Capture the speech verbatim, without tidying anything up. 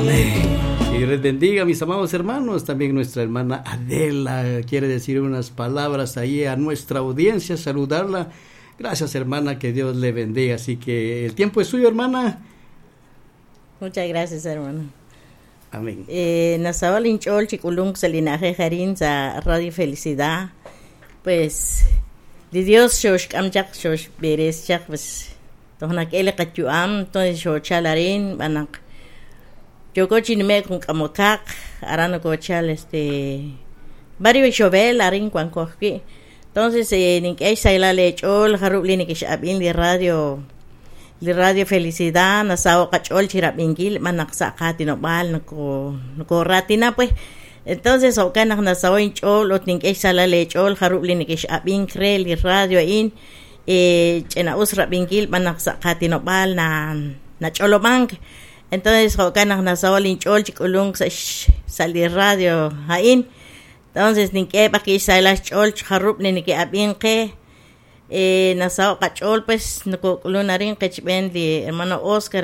Amén. Que Dios les bendiga, mis amados hermanos. También nuestra hermana Adela quiere decir unas palabras ahí a nuestra audiencia, saludarla. Gracias, hermana, que Dios le bendiga. Así que el tiempo es suyo, hermana. Muchas gracias, hermano. Amén. Eh, nasaho' inch'ool chi k'ulunk sa' li na'ajej arin sa' Radio Felicidad. Pues, li Dios xoxk'am chaq, xoxb'eres chaq, pues, toj nak'e li qayu'am, entonces xochal arin, b'anaq yooko chi nime'k jun k'amokaq, aran nokochal este barrio Ixobel arin wanko ajwi'. Entonces, eh, nink'e xsahilal eech'ool jarub' li nekex'ab'in li radio li Radio Felicidad nasaho' qach'ool chirab'inkil b'anaq sa' qaatinob'aal noko nokoraatina pues. Entonces, jo'kan naq nasaho' inch'ool ut nink'e xsahilal eech'ool jarub' li nekex'ab'ink re li radio a'in eh, ch'ina'us rab'inkil b'anaq sa' qaatinob'aal na nach'olob'ank. Entonces, jo'kan naq nasaho' linch'ool chi k'ulunk sa' sa' li radio a'in. Entonces, nink'e b'aqi xsahilal xch'ool jarub' li neke'ab'in qe eh, nasaho' qach'ool pues nokok'ulun arin qechb'een li hermano Oscar.